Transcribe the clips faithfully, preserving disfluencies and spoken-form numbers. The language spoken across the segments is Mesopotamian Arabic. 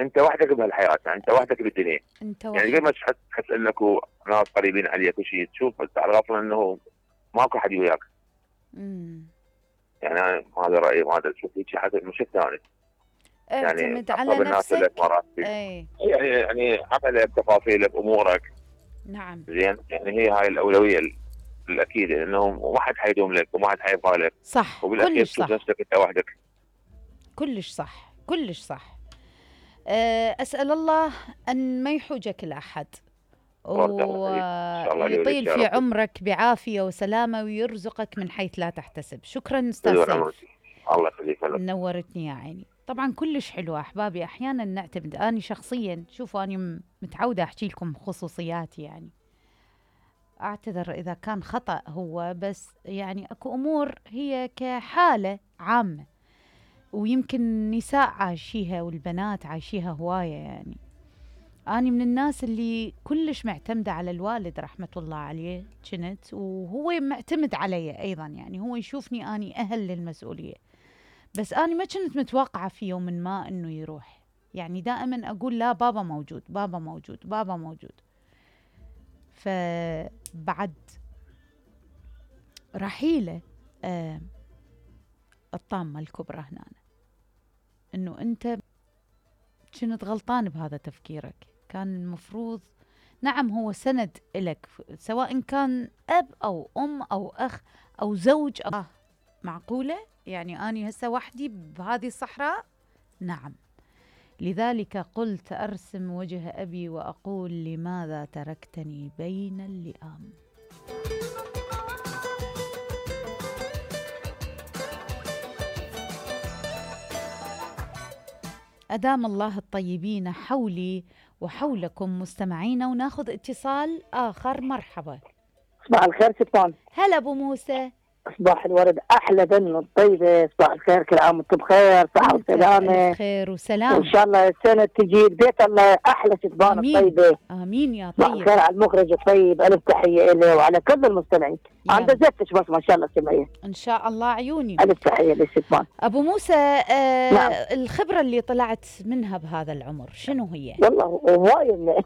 انت وحدك بهالحياه، يعني انت وحدك بالدنيا. انت يعني قبل ما تحس تحس انك ناس قريبين عليك وشيء، تشوف على غفله انه ماكو حد وياك. امم يعني انا هذا رايي، وهذا شوف هيك حسب مش ثاني. يعني اعتمد على اقرب الناس نفسك. لك مراتب، اي يعني يعني عقلك، تفاصيلك، امورك. نعم زين، يعني هي هاي الاولويه الاكيده، لانه ما حد حيدوم لك وما حد حيبقى لك، صح، وبالاخير كلش تشوف صح، نفسك انت وحدك. كلش صح، كلش صح. أه، اسال الله ان ما يحوجك الاحد بارك الله فيك، ان شاء الله لي ويطيل يا في رب. عمرك بعافيه وسلامه ويرزقك من حيث لا تحتسب. شكرا استاذ طول عمرك، سيف، الله يخليك. نورتني يا عيني. طبعا كلش حلوة أحبابي. أحيانا نعتمد، أنا شخصيا شوفوا أنا متعودة أحكي لكم خصوصياتي، يعني أعتذر إذا كان خطأ هو، بس يعني أكو أمور هي كحالة عامة ويمكن النساء عايشيها والبنات عايشيها هواية. يعني أنا من الناس اللي كلش معتمدة على الوالد رحمة الله عليه كنت، وهو معتمد علي أيضا، يعني هو يشوفني أني أهل للمسؤولية، بس أنا ما كنت متوقعة في يوم ما إنه يروح. يعني دائما أقول لا، بابا موجود، بابا موجود، بابا موجود. فبعد رحيله آه الطامة الكبرى هنا، إنه أنت كنت غلطان بهذا تفكيرك. كان المفروض، نعم هو سند إلك، سواء كان أب أو أم أو أخ أو زوج أو آه معقولة. يعني أنا هسه وحدي بهذه الصحراء؟ نعم. لذلك قلت أرسم وجه أبي وأقول لماذا تركتني بين اللئام. أدام الله الطيبين حولي وحولكم مستمعين، وناخذ اتصال آخر. مرحبا. صباح الخير ستان. هلا أبو موسى. صباح الورد، أحلى بن الطيبة. صباح الخير، كل عام وانتم بخير، صحة وسلامة. خير وسلام. وإن شاء الله السنة تجي بيت الله أحلى ستبان الطيبة. آمين يا طيب. صباح الخير على المخرج الطيب، ألف تحية إله وعلى كل المستمعين. أنا دزتش بس ما شاء الله سمعيه. إن شاء الله عيوني. ألف تحية للستبان. أبو موسى، آه نعم. الخبرة اللي طلعت منها بهذا العمر شنو هي؟ والله هواية.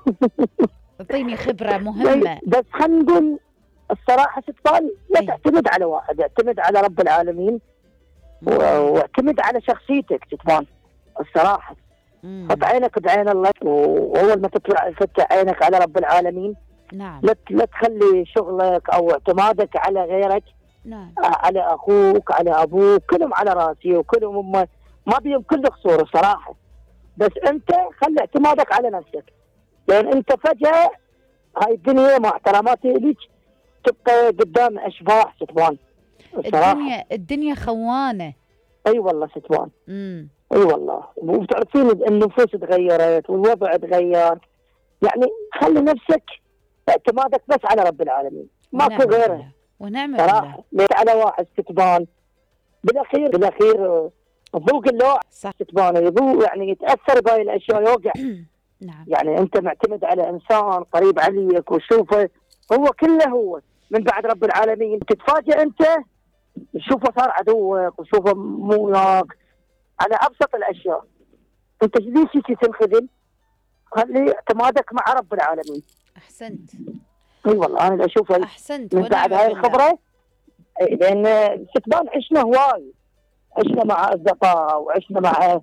اعطيني خبرة مهمة. بس خلينا نقول الصراحة ستبان، لا تعتمد على واحد، اعتمد على رب العالمين واعتمد على شخصيتك ستبان الصراحة. حط عينك بعين الله، وأول ما تطلع فتح عينك على رب العالمين. نعم. لا لا تخلي شغلك أو اعتمادك على غيرك. نعم. على أخوك، على أبوك، كلهم على راسي وكلهم ما, ما بيهم كل قصور الصراحة. بس أنت خلي اعتمادك على نفسك، لأن أنت فجأة هاي الدنيا مع احتراماتي ليك تبقى قدام أشباح ستبان الصراحة. الدنيا الدنيا خوانة. أي والله ستبان. امم اي والله. وبتعرفين النفوس تغيرت والوضع تغير. يعني خلي نفسك اعتمادك بس على رب العالمين، ماكو غيره. ونعم بالله. ليت على واحد ستبان بالاخير بالاخير ذوق اللوع صح. ستبان يذوق، يعني يتاثر بهاي الاشياء يوقع. نعم. يعني انت معتمد على انسان قريب عليك وشوفه هو كله هو من بعد رب العالمين، تتفاجئ انت تشوفه صار عدوك وشوفه مو وياك على ابسط الاشياء. انت ليش تنخذل؟ خلي اعتمادك مع رب العالمين. احسنت. اي والله انا اشوفها احسنت من بعد هاي الخبره. لان ستبان عشنا هواي، عشنا مع اصدقاء وعشنا مع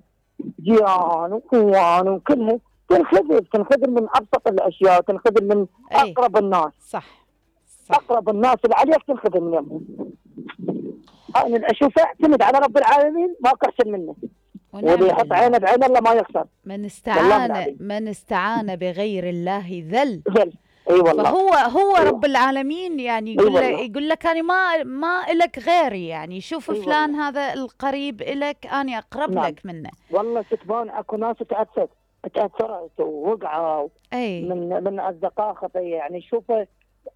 جيران واخوان وكلهم، تنخذل تنخذل من ابسط الاشياء، تنخذل من اقرب الناس. صح. صح. اقرب الناس اللي عليك تنخذل منهم. انا اشوفه اعتمد على رب العالمين، ماكو احسن منه. واللي يحط عينه بعين الله ما يخسر. من استعان من استعان بغير الله ذل. ذل. اي أيوة والله. فهو هو أيوة. رب العالمين يعني يقول أيوة لك يقول لك انا ما ما الك غيري، يعني شوف أيوة فلان والله. هذا القريب الك انا اقرب نعم. لك منه. والله ستبان اكو ناس تاثرت تاثرت ووقعوا أي. من من اصدقاء خطيه، يعني شوفه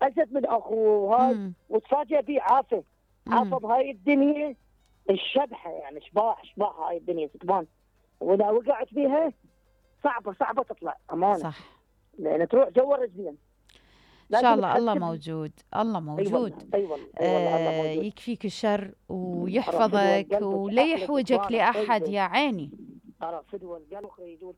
ازد من اخوه هاي وتفاجئ به عافه عافه بهاي الدنيا الشبحه، يعني شباح شباح هاي الدنيا ستبان، واذا وقعت بيها صعبه صعبه تطلع امانه. صح. لان تروح جوا رجلين. ان شاء الله الله موجود، الله موجود. اي والله اي والله الله موجود. يكفيك الشر ويحفظك ولا يحوجك لاحد يا عيني. ترى فدوى القلب يقول